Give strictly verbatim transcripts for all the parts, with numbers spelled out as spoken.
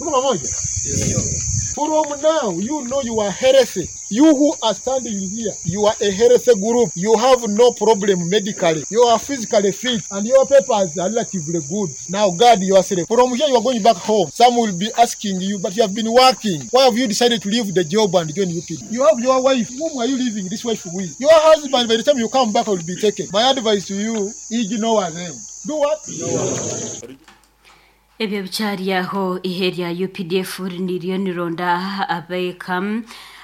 Tuko pamoja? From now, you know you are healthy. You who are standing here, you are a healthy group. You have no problem medically. You are physically fit and your papers are relatively good. Now guard yourself. From here, you are going back home. Some will be asking you, but you have been working. Why have you decided to leave the job and join U P? You have your wife. Whom are you leaving this wife with? Your husband, by the time you come back, will be taken. My advice to you, ignore them. Do what? Ebyo bikyari aho, ihe rya U P D F niryo nironda abeeka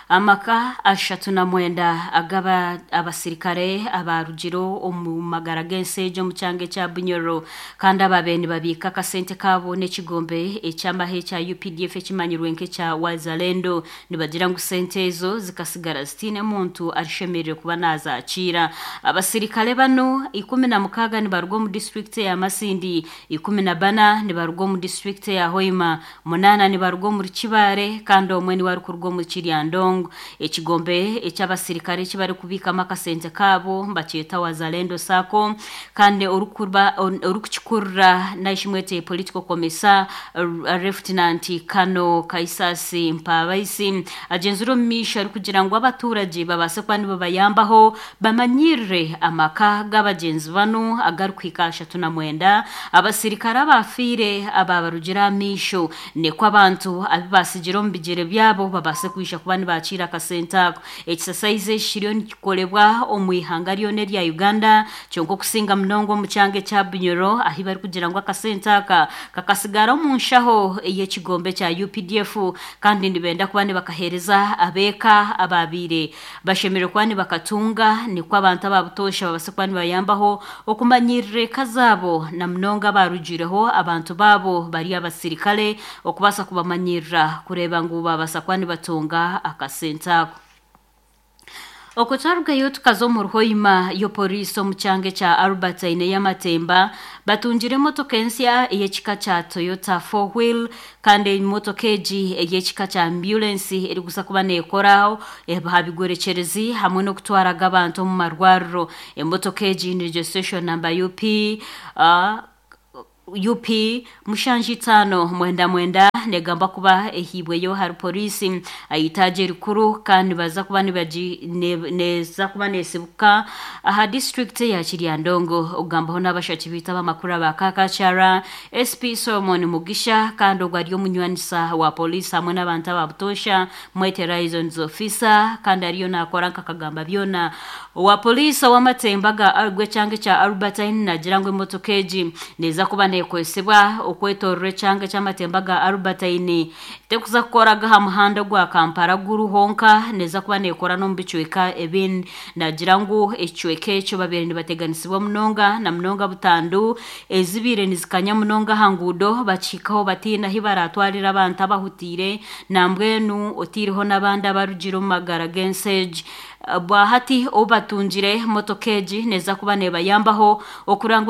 amaka ashatu na mwenda agaba abasirikare abarugiro omu magara g'ensi egyo omu kyanga ekya Bunyoro, kandi ababe nibabiika akasente kaabo n'ekigombe eky'amahe ekya U P D F ekimanyirwe nk'ekya Wazalendo. Nibagira ngu sente ezo zikasigara zitiine muntu arishemereire kuba nazakiira. Abasirikare bano ikumi na mukaaga nibaruga omu disitulikiti ya Masindi, ikumi na bana nibaruga omu disitulikiti ya Hoima, munaana nibaruga omuri Kibaare, kandi omwe niwe arikuruga omu Kiryandongo. Ekigombe eky'abasirikare eki barikubiikamu akasente kaabo bakyeta Wazalendo SACCO, kandi orikuba orikukikurura naishimwete political commissar, Lieutenant Kano Kaisasi Mpabaisi, agenzire omu maisho arikugira ngu abaturage babaase kuba nibabayambaho bamanyirire amaka g'abagyenzi banu agarikuhika ashatu na mwenda, abasirikare abafiire ababarugire aha maisho, nikwo abantu abu basigire omu bigyere byabo babaase kwija kuba nibakiira akasente ako. Ekisasaizi eki kiriyo nikikolebwa omu ihanga ryona erya Uganda, kyonka okusinga munonga omu kyanga ekya Bunyoro, ahi barikugira ngu akasente aka kakasigara omu nshaho ey'ekigombe kya U P D F, kandi nibenda kuba nibakaheereza abeeka ababiire bashemereire kuba nibakatunga, nikwo abantu ababutoosha babaase kuba nibayambaho okumanyirira eka zaabo, na munonga abarugireho abantu baabo bari abasirikare, okubaasa kubamanyirira kureeba ngu babaasa kuba nibatunga akasente ako. Okwo twarugayo tukaza omu Ruhoima. Yo poliisi omu kyanga ekya Albertine ey'amatemba batungire emotoka ensya ey'ekika kya Toyota four wheel, kandi emotoka egi ey'ekika kya ambulance erikuza kuba neekoraho aha bigorekyerezi hamwe n'okutwaraga abantu omu marwariro. Emotoka egi ni registration number U P uh, U P mushanju itaano mwenda mwenda, negamba kuba ehibweyo hari polisi ayitaje erikuru, kandi baza kuba nibagi ne- neza kuba nesibuka aha district ya Kiryandongo. Ogambaho n'abashaki biita abamakuru aba Kakakyara, S P Solomon Mugisha, kandi ogwo ari omunywanisa wa polisi hamwe n'abantu ababutosha, mwete liaisons officer, kandi ariyo nakora nkakagamba byona wa polisi ow'amatemba ga gw'ekyanga ekya Albertine. Nagira ngu emotoka egi neza kuba nekozesebwa okwetorora ekyanga eky'amatemba ga Albertine, tekuza kukoraga aha muhanda gwa Kampala guru honka, neza kuba nekora n'omu bicweka ebindi. Nagira ngu ekicweka ekyo babeire nibateganisibwa munonga, na munonga butandu ezibiire nizikanya munonga aha nguudo, bakihikaho batiina ahi baratwarira abantu abahutiire, nambwenu otiireho n'abandi abarugire omu magara g'ensi egi. Bwahati obu batungire motoka egi neza kuba nebayambaho okurangwa.